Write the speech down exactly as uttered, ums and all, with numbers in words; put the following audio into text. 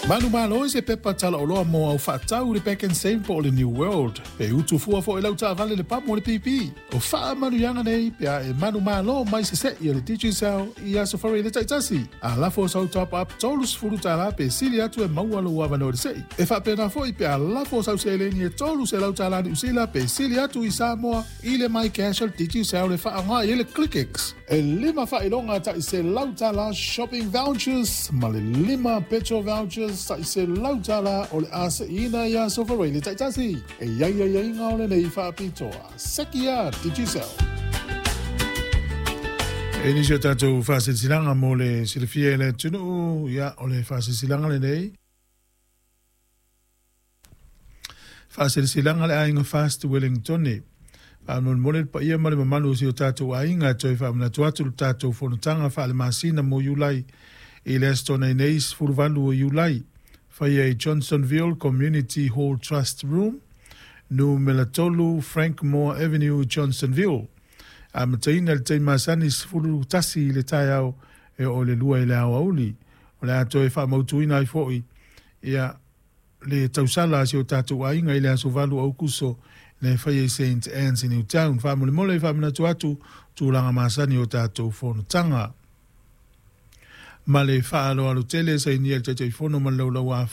Manumalo i se pepa talaoloa mo au faatau i le Pak'nSave po o le New World. Pe utu fua foi lau taavale le pamu o le P P. O faamanuiaga nei pe a e manumalo mai sese'i e le Digicel i aso faraile taitasi. A lafo sau top up tolu sefulu tala pe sili atu e maua lou avanoa i le se'i. E faapena foi pe a lafo sau seleni e tolu selau tala Niu Sila pe sili atu i Samoa i le MyCash o le Digicel e faaaoga i ai le ClickX. E lima faailoga ta'i selau tala shopping vouchers ma le lima petrol vouchers ta'i selau tala o le a se'iina i aso faraile taitasi. E iai aiaiga o lenei faapitoa. Sekia Digicel. E nisi o tatou faasilasilaga mo le silafia e le atunuu, ia o le faasilasilaga lenei. Faasilasilaga le aiga Fast Wellington. Faamolemole le paia ma le mamalu o si o tatou aiga e toe faamanatu atu le tatou fonotaga faalemasina mo Iulai i le aso Toonai nei sefuluvalu o Iulai. Faia i Johnsonville Community Hall Trust Room, numera tolu Frank Moore Avenue, Johnsonville. Amataina i le taimi masani sefulu tasi i le taeao e oo i le lua i le aoauli. O le a toe faamautuina ai foi ia le tausala a si o tatou aiga i le aso valu o Aokuso le faia i Saint Anne's i Newtown. Faamolemole faamanatu atu tulaga masani o tatou fonotaga. Ma le faaaloalo tele, sainia le Taitaifono ma le laulau a